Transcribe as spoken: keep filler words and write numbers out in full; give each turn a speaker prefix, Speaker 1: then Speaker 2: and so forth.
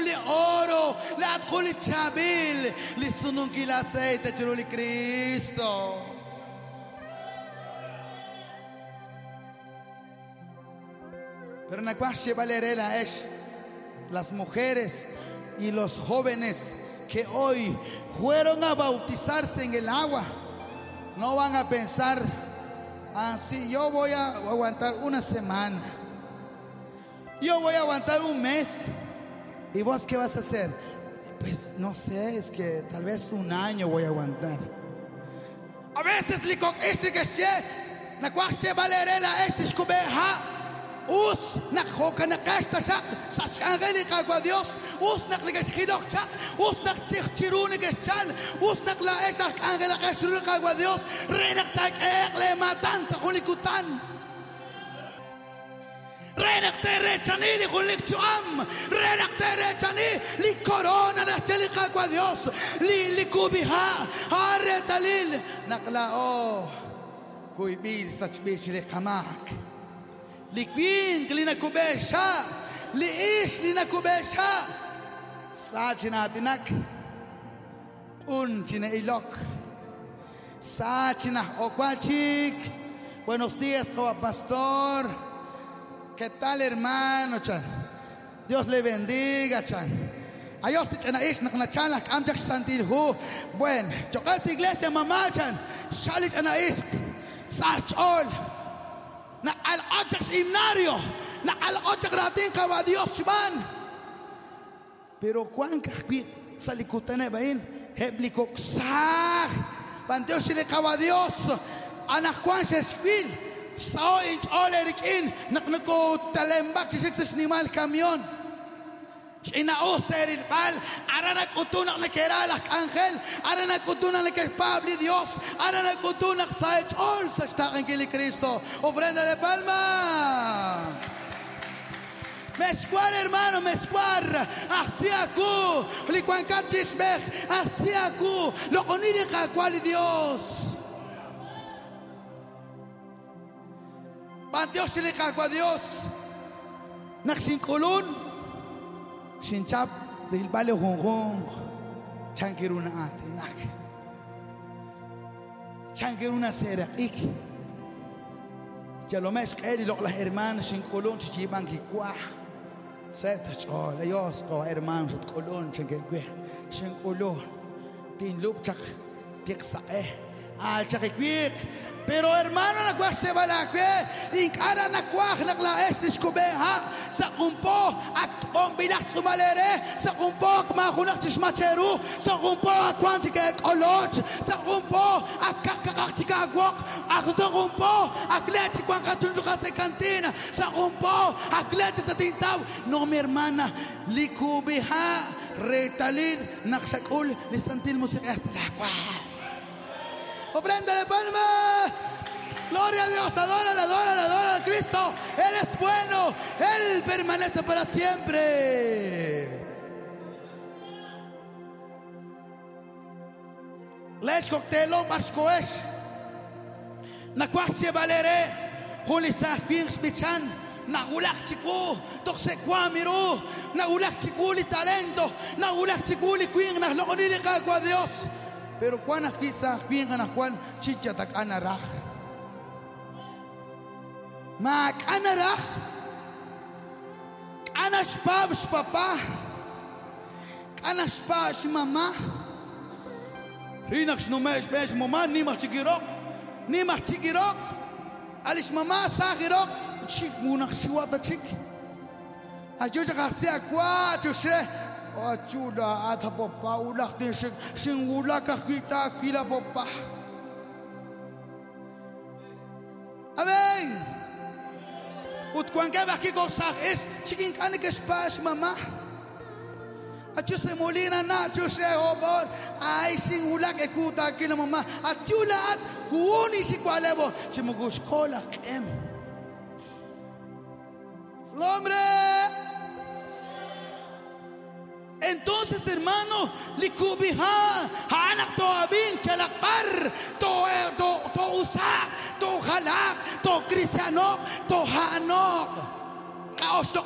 Speaker 1: jun li oro, laat jun li chabil, li sununkil aceite chiru li Cristo. Pero nakwaj la esh, las mujeres y los jóvenes que hoy fueron a bautizarse en el agua, no van a pensar, así, ah, yo voy a aguantar una semana, yo voy a aguantar un mes. ¿Y vos qué vas a hacer? Pues no sé, es que tal vez un año voy a aguantar. A veces us nak nakashta shaq sashangeli Dios us nak ligashilok chaq us nak chichiruni geshal us nak la eshak angela gashruka Dios renak tak le matanza hulikutan renak terechani li hulikchuam renak terechani li corona nashelika Dios li likubiha aretalil nakla o kuibil sachbich li kamak Likwin linakubesha, liish linakubesha. Sa chinatinak, un chinailok. Sa chinah okwachik. Buenos días, como pastor. ¿Qué tal, hermano chan? Dios le bendiga, chan. Ayos chanaish naknachan amchak santilhu. Bueno, chokas iglesia mamá chan. Shalich anaish. Sachol. Na al ochak himnario, na al ochak ratin kawa Dios man. Pero kwan kakwi salikutane bain, heblikok sah, bandios le kawa Dios, anak kwan sesquil, sao inch olerikin, naknako talembak sisik nimal camión. Chinaos el bal, aranak utunak nakeralak ángel, aranak utunak nakerpabli Dios, aranak utunak saechol sashtakan kili Cristo. Ofrenda de palma. Mezcuar, hermano, mezcuar. Asiaku, licuancachisbej, asiaku, lo onirika cual Dios. Panteos a Dios. Naxincolun. Shinchap rilbale hong chankiruna atinak chankiruna seraik chalomesh qeli loq la hermano shinkulun chichiban kikwah setach la yos ko hermano shatkulun chankirwe shinkulun tinlup chak tiqsaqe al chakikwiq. Pero hermano nakwaj se balakwe inkara nakwaj nakla eshtishkubeha sakumpo aktombilak tsumalere sakumpo mahunak chishmacheru sakumpo akwanchike koloch sakumpo akakakachikagwok akzokumpo aklechi kwankatunduka se cantina sakumpo aklechi tatintaw. No, mi hermana, likubiha retalil naksakul lisantil musika salakwa. Ofrenda de palma. Gloria a Dios, adórale, adórale, adórale a Cristo. Él es bueno, Él permanece para siempre. Les coctelo marcoesh. Nakwasche valere, Julisah bichan. Naulak chiku, toxecuamiru, naulak chiku li talento, naulak chiku li queen, nahlonili a Dios. Pero cuan quizás bien a Juan chicha takanaraj. Ma kanaraj. Kanash pabs papá. Kanash pash mamá. Rinax no mes bes mamá ni más chiquirok. Ni más chiquirok. Alish mamá sajirok. Chik munak chiwata chik. Ayuya garcía cuatro she. Achula atha papa ulak din shik sing ulak akita kila papa. Amén. Utkuanke baki gosach es chikin kane ke spash mama. Achu se molina na achu se obor ay sing ulak ekuta kila mama. Achula at kuoni sikwalebo chimugush kola kem. Nombre. Entonces, hermano, likubiha, hanak to abin chalakar, to to to usak, to halak, to kristianok, to hanok. Kaos to